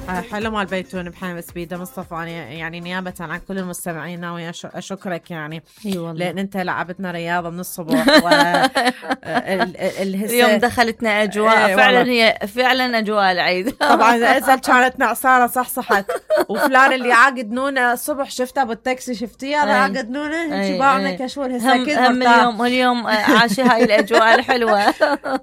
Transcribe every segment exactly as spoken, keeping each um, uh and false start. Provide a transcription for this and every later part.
حلو مال بيتون بحنا بس بيده مصطفى. أنا يعني نيابة عن كل المستمعين ناوي أشكرك يعني. اي والله. لأن أنت لعبتنا رياضة من الصبح و اليوم دخلتنا أجواء ايه فعلا، هي فعلا أجواء العيد. طبعا أزل كانت نعسانة صحصحت. وفلان اللي عاقد نونه الصبح شفتها بالتاكسي، شفتيه هذا عاقد نونه شبعنا كشور هسه هم, هم اليوم اليوم عاش هاي الأجواء الحلوة.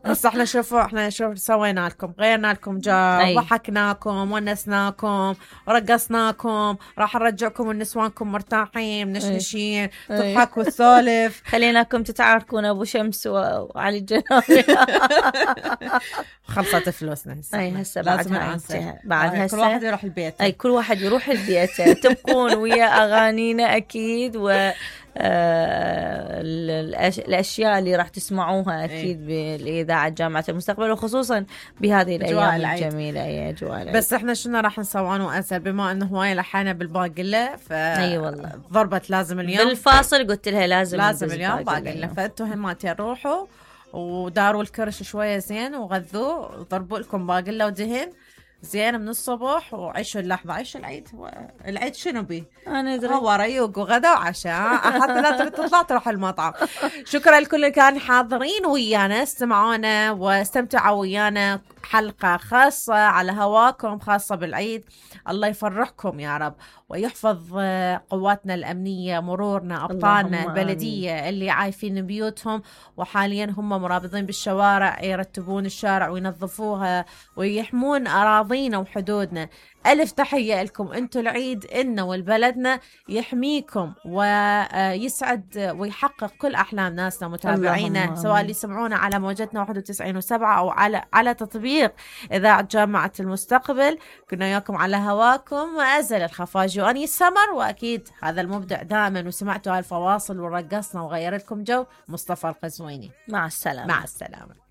بس احنا شوفوا احنا شوف سوينا لكم، غيرنا لكم جو، ضحكناكم ونسناكم ورقصناكم، راح نرجعكم ونسوانكم مرتاحين منشنشين تضحك وتسولف. خليناكم تتعاركون ابو شمس وعلي الجنابي. خلصت فلوسنا هسه. اي هسه بعد هاي بعد هسه كل واحد يروح البيت. اي كل واحد يروح البيت. تبقون ويا اغانينا اكيد، و آه الأشياء اللي راح تسمعوها أكيد ايه. بالإذاعة جامعة المستقبل، وخصوصا بهذه الأيام الجميلة. أي أجواء العيد. بس إحنا شنو راح نسوان وأسأل بما إنه هواي لحنا بالباقلة، ف أي والله ضربت لازم اليوم بالفاصل قلت لها لازم لازم اليوم باقلة، فأنتوا هماتين روحوا وداروا الكرش شوية زين وغذوا، ضربوا لكم باقلة ودهن زين من الصبح وعيشوا اللحظة، عيشوا العيد. هو العيد شنو بيه؟ أنا أدري هو ريوق وغدا وعشاء، حتى لا تريد تطلع تروح المطعم. شكرا لكل اللي كانوا حاضرين ويانا استمعونا واستمتعوا ويانا، حلقة خاصة على هواكم خاصة بالعيد. الله يفرحكم يا رب ويحفظ قواتنا الأمنية، مرورنا، أبطالنا، البلدية اللي عايفين بيوتهم وحاليا هم مرابطين بالشوارع، يرتبون الشارع وينظفوها ويحمون أراضينا وحدودنا. ألف تحية لكم أنتوا العيد إنه والبلدنا يحميكم ويسعد ويحقق كل أحلام ناسنا متابعينا، سواء اللي يسمعونا على موجتنا واحد وتسعين وسبعة أو على على تطبيق إذاعة جامعة المستقبل. كنا وياكم على هواكم وأزل الخفاجي وأني السمر، وأكيد هذا المبدع دائما وسمعتوا هالفواصل ورقصنا وغير لكم جو، مصطفى القزويني. مع السلامة. مع السلامة.